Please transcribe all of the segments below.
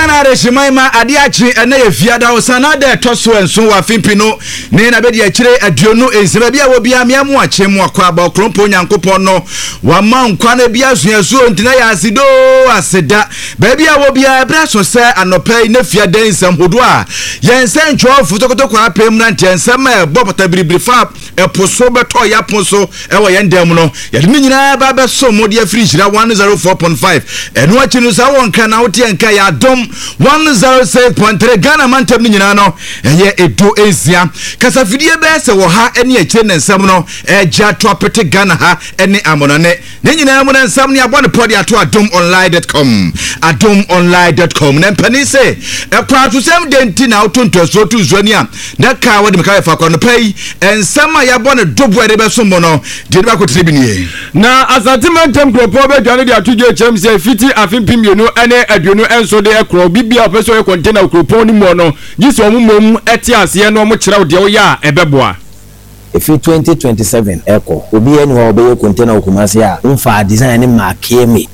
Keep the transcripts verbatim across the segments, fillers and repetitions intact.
Ghana adehyeman ma adeɛ akye. Ɛnɛ yɛ Fiada wo sana da ɛtɔ so nson wɔ afimpi no ne na bɛdi akyire aduonu nsia. Baabi a wɔ bia mmea mu akye mu akɔ aba. Ɔkorɔmpo Nyankopɔn no wama nkwa no bi asuasuo ntina yɛ asedoo aseda. Baabi a wɔ bia, ɛberɛ so sɛ anɔpa yi ne Fiada nsɛm hodoɔ a yɛn nsɛntwerɛfo tokotoko apem mmeranteɛ nsɛm a ɛbɔ pata biribiri fa ɛpo so bɛtɔ yɛapo so ɛwɔ yɛn dan mu no, yɛde ne nyinaa ba bɛso mo de afiri Nhyira one oh four point five. Ɛno akyi no, saa wɔ Nka na wote nka yɛ Adom one oh six point three. Ghana mantam no nyinaa no ɛyɛ edu nsia. Kasafidie bɛyɛ sɛ wɔ ha ne akyire ne nsɛm no ɛgye ato apete Ghana ha ne amɔnɔne ne nyinaa mu no, nsɛm ne abɔ ne pɔ de ato adom online dot com, adom online dot com. Na mpanin sɛ ɛkwan atosɛm de nti na woto ntoasuo to nsuo ani a na kaa wɔde meka yɛfa kɔ nɔpa yi, nsɛm a yɛabɔ ne doboɔ a yɛde bɛsom mo no deɛ de bakɔtene bi nie. Na Asante mantam kuropɔn bɛdwane de ato dwa kyerɛm sɛ fiti afe mpem mmienu ne aduonu nso de ɛkorɔ, obi bia ɔpɛ sɛ ɔyɛ container wɔ kuropɔn no mu no, gye sɛ ɔmo mmom ɛte aseɛ na ɔmo kyerɛw deɛ woyɛ a ɛbɛboa. Ɛfiri twenty twenty-seven ɛkɔ, obiara ni hɔ a ɔbɛyɛ container wɔ Kumase a womfa design ne maakeɛ me.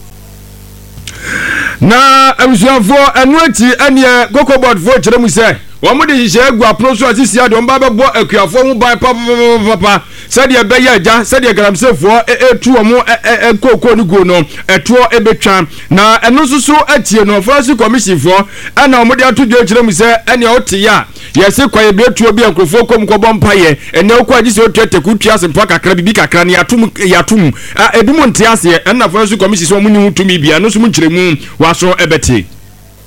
Na abusuafoɔ, ɛno akyi ɛneɛ Cocobod foɔ kyerɛ mu sɛ wɔn de hyehyɛ agu apono so a sisi adeɛ wɔn ba bɛbɔ akuafoɔ ho ban papapapapa sɛdeɛ ɛbɛyɛ agya sɛdeɛ galamseyfoɔ etu wɔn ɛ kookoo no guo no ɛtoɔ ɛbɛtwa. Na ɛno nso so atie no, Forestry Commission foɔ ɛna wɔn de ato dwa kyerɛ mu sɛ ɛnea ɔte yɛ a yɛsi kwaeɛ tuo bi a nkurɔfoɔ kɔm kɔbɔ mpayɛ ɛnɛ okɔ agye sɛ otua teku tua asempa kakra bibi kakra ne yatum yatum a ebi mu nte aseɛ. Ɛna Forestry Commission sɛ wɔn ni ho tumi bia ɛno nso mu nkyerɛmu waso ɛbɛte.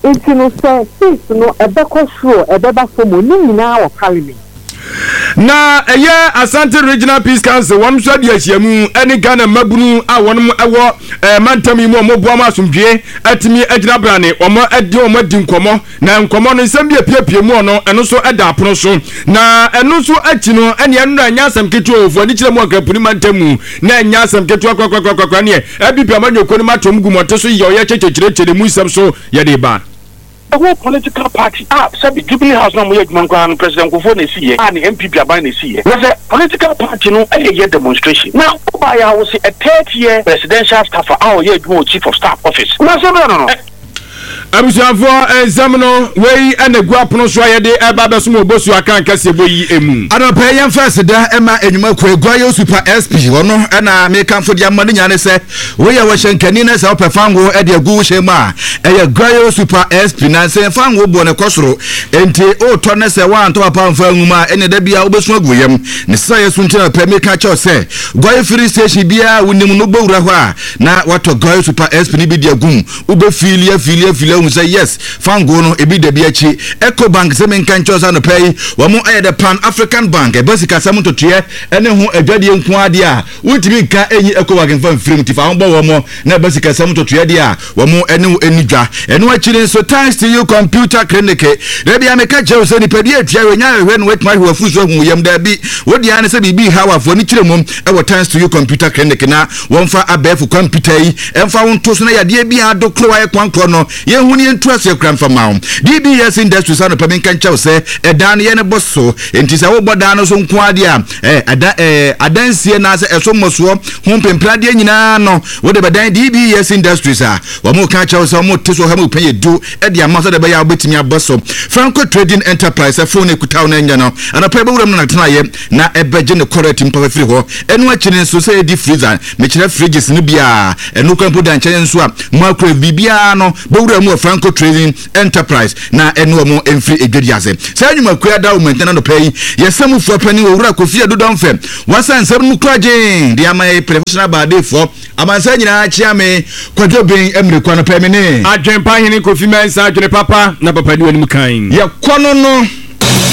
Nti no sɛ fees no ɛbɛkɔ soro, ɛbɛba fam o, ne nyinaa wɔ Parliament. Na ɛyɛ Asante Regional Peace Council, wɔn nso adi ahyiamu ɛne Ghana mmabunu a wɔn ɛwɔ ɛɛ mantam yi mu a wɔn boa mu asomdwie atumi agyina brane. Wɔn ɛde wɔn adi nkɔmɔ na nkɔmɔ no nsɛm bi apiepie mu ɔno ɛno nso ɛda apono so. Na ɛno nso akyi no, ɛne ɛno na ɛnyɛ asɛm ketewa ofu ani kyerɛ mu Akrampuni mantam mu na ɛnyɛ asɛm ketewa korakorakorakora. Neɛ N P P amanyɔkuo no matom gu mɔte so yɛ ɔyɛ kyɛkyɛkyerɛkyerɛ mu nsɛm so yɛde ba. The whole political party a sɛbi Jubilee House na mo yɛ adwuma nkoraa no, President Kufuor na esi yɛ a ne N P P aban na esi yɛ. Na sɛ political party no ɛyɛ yɛ demonstration na ɔbaa yɛ a wɔsi a third year presidential staffer a ɔyɛ adwuma wɔ Chief of Staff office na sɛ bɛrɛ no no. Abusuafoɔ, nsɛm no wei ɛna gu apono so a yɛde ɛba bɛsom Obosu aka nkɛseɛ bɔ yi emu. Anɔpɛ yɛmfa aseda ɛma enwuma Eguayo Super S P. Ɔno ɛna mekamfo de ama no nyinaa ne sɛ woyɛ wɔhyɛ nkani na sɛ wopɛ fango ɛde agu wo hyɛn mu a, ɛyɛ Guayo Super S P. Na sɛ fango boɔ ne kɔ soro enti wotɔ ne sɛ woantɔ papa mfa angu mu a, ɛne da bia wobɛsu agu yam ne sɛ yɛ so. Nti na pɛ meka kyɛw sɛ Guayo filling station biara wonim no, wobɛwura hɔ a na watɔ Guayo Super S P no bi de agu mu. Wobɛfiili afiili afiili ahu sɛ yes, fango no ebi da bi akyi. Ecobank sɛ menka nkyɛw sɛ anɔpɛ yi wɔn ayɛ the Pan African Bank. Ɛba sikasɛm ntotoeɛ ɛne ho adwadeɛ nko adeɛ a wontumi nka ɛnyi Ecobank mfa mfirim. Nti fa ho bɔ wɔn na ɛba sikasɛm ntotoeɛ deɛ a wɔn ɛne wo ani dwa. Ɛno akyiri nso, Thanks To You Computer Clinic. Dabi a meka kyerɛ wo sɛ nipadua atua wɔ nya ahwehwɛ no watumi ahwɛ wafu so ahu yam. Daabi, wode ara ne sɛ biribi ha wafoɔ ne kyerɛ mu ɛwɔ Thanks To You Computer Clinic na wɔmfa abɛɛfo computer yi ɛmfa wo nto so na yadeɛ bi a adokoro ayɛ kwankorɔ no yɛhu ne yɛntu aseɛ kora mfa ma wo. D B S Industries, anɔpa mi nka nkyɛw sɛ ɛdan no yɛ ne bɔ so. Enti sɛ wobɔ dan no so nko adeɛ a ɛda ɛɛ adansie na sɛ ɛso mmɔsoɔ ho mpempradeɛ nyinaa no wode bɛdan D B S Industries a wɔn ka kyerɛw sɛ wɔn te so ɔha mu pɛn yɛ du ɛde ama sɛ de bɛyɛ a wobɛtumi abɔ so. Franco Trading Enterprise, phone ekuta wo no nyɛ no anɔpa ɛbɛwura mu no natenaeɛ na ɛbɛgye ne kɔrɛt mpa firi hɔ. Ɛno akyi no nso, sɛ yɛdi freezer, mekyerɛ fridges no biara, ɛno kwan mpo da nkyɛn nso a microwave biribiara no bɛwura mu wɔ Franco Trading Enterprise na ɛne wɔn mfiri edwadi ase. Saa nnwumakuo ada wɔn ntɛn. Anɔpa yi yɛsɛ mu foɔ panin Owura Kofi Adudɔnfɛ wasa nsɛm no kura gyeen de ama yɛ professional baadeefoɔ amansa nyinaa. Kyea me Kwadwo Ben mmirikwa no pɛ me ne Adwempa Hene Kofi Mɛnsa, adwene papa na papa ni w'anim kan. Yɛkɔ no no.